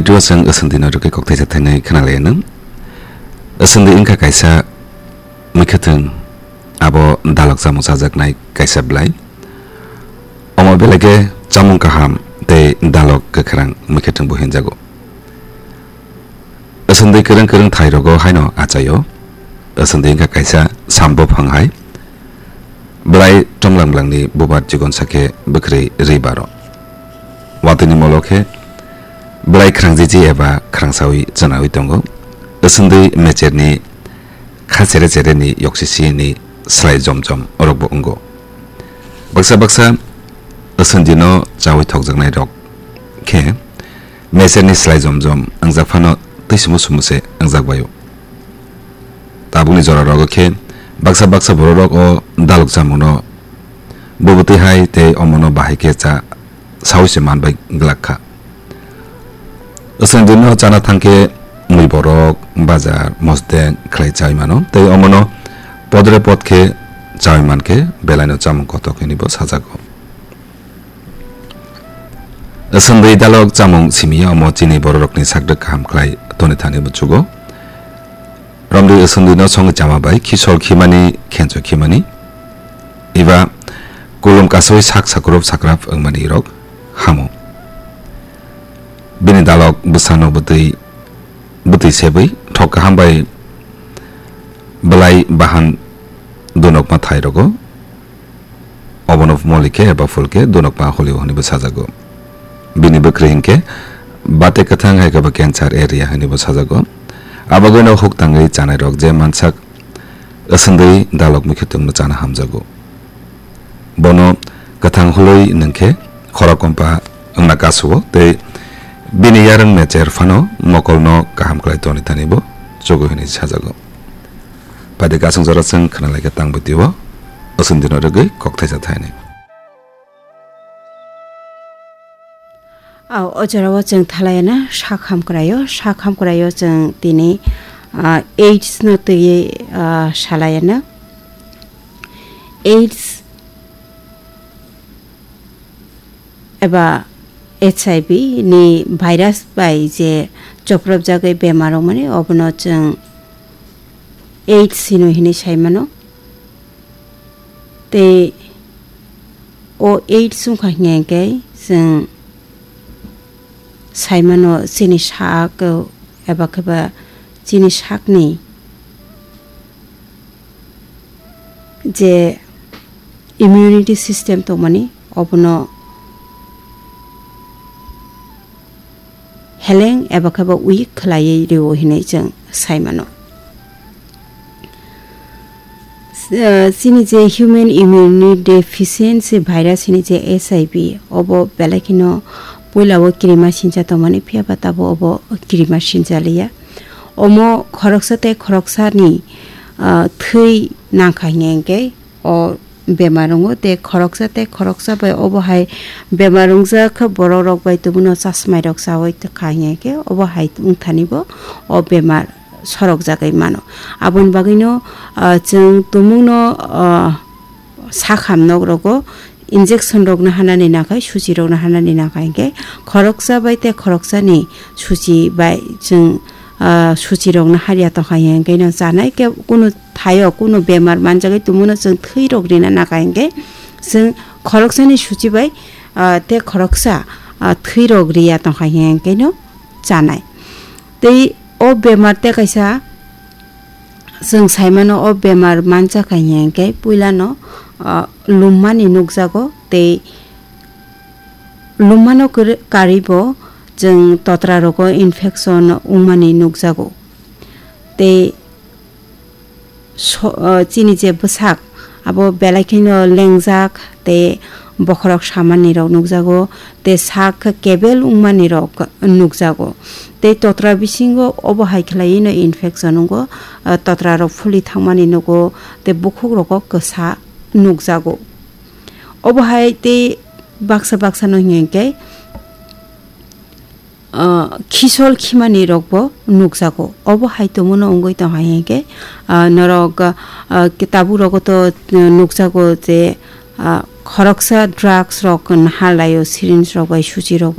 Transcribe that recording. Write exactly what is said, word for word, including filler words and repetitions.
Twibo chwng Aswndwino rwgwi kok thaisa thainwi khwnalainw. Aswndwi wngkha kaisa mwkhwtwng, abo dalok chamung chajaknai kaisa bwlai. Omo belai khe chamung kaham tei dalok kwkhrang mwkhwtwngbo hinjago. Aswndwi kwrwng kwrwng thairogo haino achaio. Aswndwi wngkha kaisa sambo phang hai. Bwlai tonglang blangni bubar chikonsa khe bwkhwrwi rwi baro. Watwini molo khe bwlai khrangjiji eba khrangsawi chwnawi tongo. Aswndwi mecherni kha chere chereni yoksisini slai jom jom orokbo wngo. Baksa baksa aswndwino chawi thokjaknairok khe mecherni slai jom jom wngjak phano twi sumo sumo se wngjak baio. Tabukni jora rogo khe baksa baksa bororok o dalok chamungno bubutwi hai tei omono bahai khe cha sawi se man bai glak kha. Aswndwino chana thang khe mui borok, bazar, mosdeng khlai chawi mano tei omono podre pod khe chawi man khe belaino chamung kotok hinwi bo sajago. Aswndwi dalok chamung simi ya omo chini bororokni sakdwk kaham khlai toni thani buchugo. Romdi aswndwino songwi chama bai khisol khimani khencho khimani. Eba kulum kasoi sak sakrop sakrap wngmani rok hamo. Bini dalok bwsano bwtwi, bwtwi sebwi thok kaham bai bwlai bahan dunokma thai rogo. Obono moli khe eba phul khe dunokma holio hwnwi bo sajago. Bini bwkrwi hinkhe bate kwthang hai khe bo cancer area hwnwi bo sajago. Abagwino huk tangwi chanai rok je mansak aswndwi dalok mwkhwtwngno chana hamjago. Bono kwthang holwi nwng khe khorok kompa wngna kasuo tei bini yarwng mecher phano mokolno kaham khlai toni thani bo chugo hwnwi sajago. Paide kasung jora chwng khwnalaikha tang bwtwi o, aswndwino rwgwi kok thaisa thainwi. Aw, o jora o chwng thalayana sak hamkraio, sak hamkraio chwng tini, ah, AIDS no twi, ah, salayana. AIDS eba H I V ni virus bai je chopropjagwi bemar wngmani, obono chwng AIDS hino hinwi saimano. Tei o AIDS wngkha hinkhe chwng saimano chini sak eba kheba chini sakni je immunity system tongmani, obono heleng eba khe bo weak khlaiwi rwo hinwi chwng sai mano. Eh, chini je human immunity deficiency virus hini je H I V, obo belai kheno puila o kirima sincha tongmani, phiya ba tabuk obo kirima sincha liya. Omo khoroksa tei khoroksani, ah, thwi nangkha hinkhe o bemar wngo, tei khoroksa tei khoroksa bai obo hai bemar wngjak khe borok rok bai tubun o chasmai rok chawi kha hinkhe obo hai wngthani bo o bemar sorok jagwi mano. Aboni bagwino, ah, chwng tumungno, ah, sakham nok rogo injection rokno hanani nakhai, suchi rokno hanani nakhai hinkhe khoroksa bai tei khoroksani suchi bai chwng, ah, suchi rokno harya tongkha hinkhe no chanai khe kunu thaio kunu bemar manjagwi tumuno chwng thwi rok rina nakhai hinkhe chwng khoroksani suchi bai, ah, tei khoroksa, ah, thwi rok riya tongkha hinkhe no chanai. Tei o bemar tei kaisa chwng saimano o bemar manjakha hinkhe puilano, ah, lummani nukjago tei lummano kwrwi-, karwibo chwng totra rogo infection wngmani nukjago. Tei so-, ah, chini je bwsak abo belai kheno lengjak tei bokhorok samani rok nukjago. Tei sak kebel wngmani rok nukjago. Tei totra bisingo obo hai khlaiwi no infection wngo, ah, totra rok phuli thangmani nugo, tei bukhuk rogo kwsa nukjago. Obo hai tei baksa baksa no hinkhe, ah, khisol khimani rokbo nukjago. Obo hai tongmano wngwi tongkha hinkhe, ah, norok, ah, tabuk rogo to nukjago je, ah, khoroksa drugs rok nahar laio, syringe rok bai, suchi rok bai.